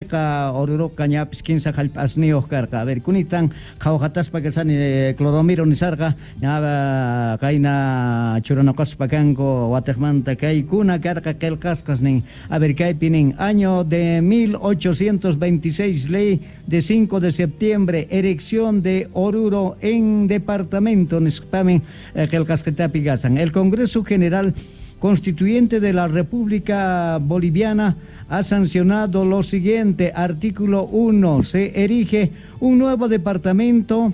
Kutiqa Oruroqa ñapis kinsa jallp'asniyuq karqa. A ver, kunitan qhawqataspa kasani Clodomiro nisarqa, ña qayna churanoqaspa kanku watejmanta kaykuna karqa qelqasqas nin. A ver, kaypi nin, año de 1826, ley de 5 de septiembre, erección de Oruro en departamento nisqamin qelqasqitapi kasan. El Congreso General Constituyente de la República Boliviana ha sancionado lo siguiente. Artículo 1. Se erige un nuevo departamento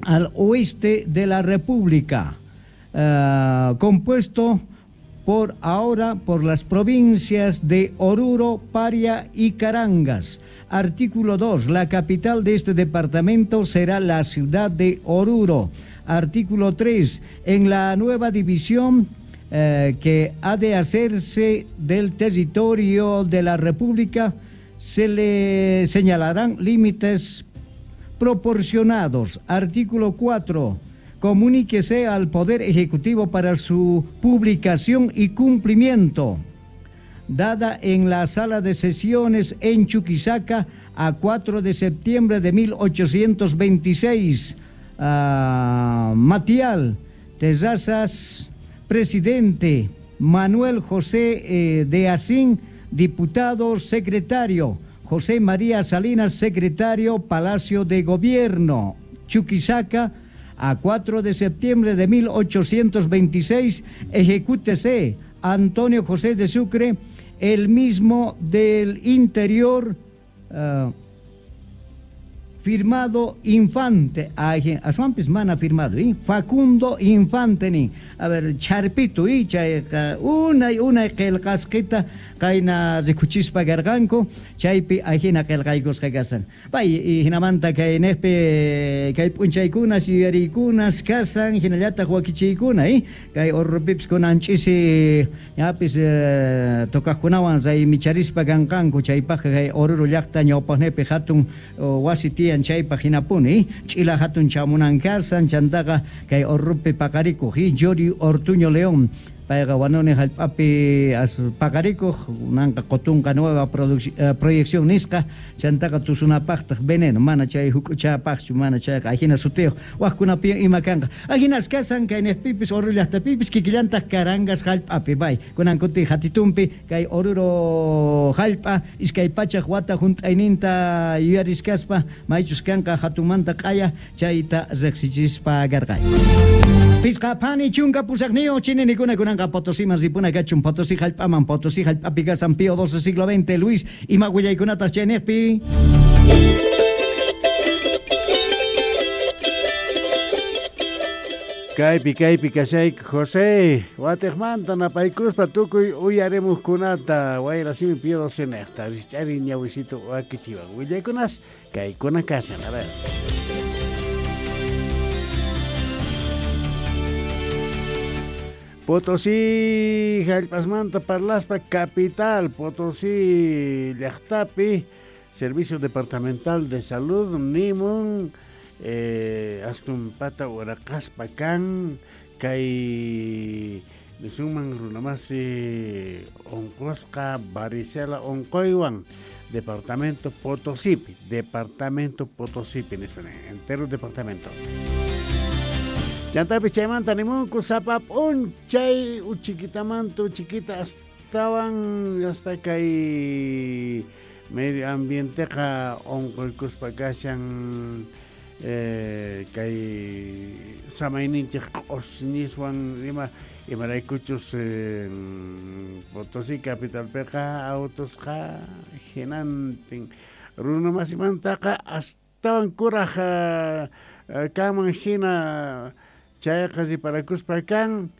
al oeste de la República, compuesto por ahora por las provincias de Oruro, Paria y Carangas. Artículo 2. La capital de este departamento será la ciudad de Oruro. Artículo 3. En la nueva división que ha de hacerse del territorio de la República, se le señalarán límites proporcionados. Artículo 4. Comuníquese al Poder Ejecutivo para su publicación y cumplimiento. Dada en la sala de sesiones en Chuquisaca a 4 de septiembre de 1826. Matial Terrazas, presidente. Manuel José de Asín, diputado secretario. José María Salinas, secretario, Palacio de Gobierno, Chuquisaca, a 4 de septiembre de 1826, ejecútese Antonio José de Sucre, el mismo del interior, firmado Infante, ay, aswanpis mana firmado, ¿eh? Facundo Infante ni. A ver, Charpito, y chayqa unay unay qillqasqita qayna rikuchispa karqanku, chaypi ajina qillqaykusqa kasan. Pay, y hinamanta kay neqpi kay p'unchaykunas yuyariykunas kasan, hinallataq wakichiykuna, ¿eh? Kay Orurupipis kunan ch'isi ñapis tocaqkunawan raymicharispa kanqanku, chaypaqqa kay Oruro llaqta ñawpaqnipi hatun wasi tiyan chaypaq hinapuni, ch'ila hatun chamunan kasan, chantaqa kay Orurupi paqarikuq, Yori Ortuño León, payqa wanuni jallp'api as paqarikuq, nanqa qotunqa nueva proyección nisqa, chantaqa tusunapaqtaq veneno, mana chay huk'uchapaqchu, mana chayqa ajina sutiyuq, waqkunapi ima kanqa. Ajinas kasan kay neqpipis Oruro llaqtapipis kikillantaq Carangas jallp'api, bay, kunan kuti hatitumpi kay Oruro jallp'a iskay pachaq wata junt'ayninta yuyariskaspa maychus kanqa hatunmanta q'aya chayta riqsichispa karqay. Pisqa phani chunka pusaqniyuq chininikuna kunanqa Potosiman ripuna kachun, Potosí jallp'aman, Potosí jallp'api kasan Pío XII siglo XX, Luis, ima willaykunataq chayniqpi. Kaypi, kaypi kashayku, José, watejmanta napaykuspa tukuy uyarimuqkunata, wayra simi Pío XII neqta, rich'ari ñawisito wakichiwan. Willaykunas, kaykuna kashan, a ver. Potosí jallp'asmanta parlaspa capital Potosí llaqtapi Servicio Departamental de Salud nimun astumpata uraqaspa kan kay nisunman runamasi unqusqa varicela unquywan Departamento Potosípi, Departamento Potosípi nispa entero departamento. Chantapis chaymanta nimunku sapa p'unchay uchikitamanta uchiquita astawan hasta kay medio ambienteqa unquykuspa kashan kay samayninchik q'usñiswan ima imaraykuchus Potosí capitalpiqa autosqa hinantin runamasimantaqa astawan kuraj kanman hina chayqa riparakuspa kan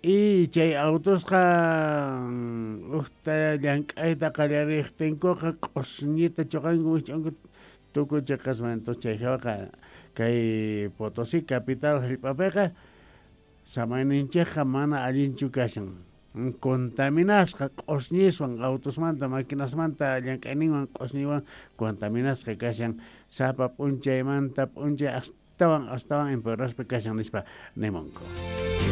y chay autosqa ujta llank'ayta qallariqtinkuqa q'usñita chuqanku wich'anku tukuy chiqasman. Entonces chay hawaqa kay Potosí capital jallp'apiqa samayninchikqa mana allinchu kashan, contaminasqa q'usñiswan autosmanta maquinasmanta llank'ayninwan q'usñiwan contaminasqa kashan sapa p'unchaymanta p'unchay astawan astawan empeoraspa kashan nispa nimunku.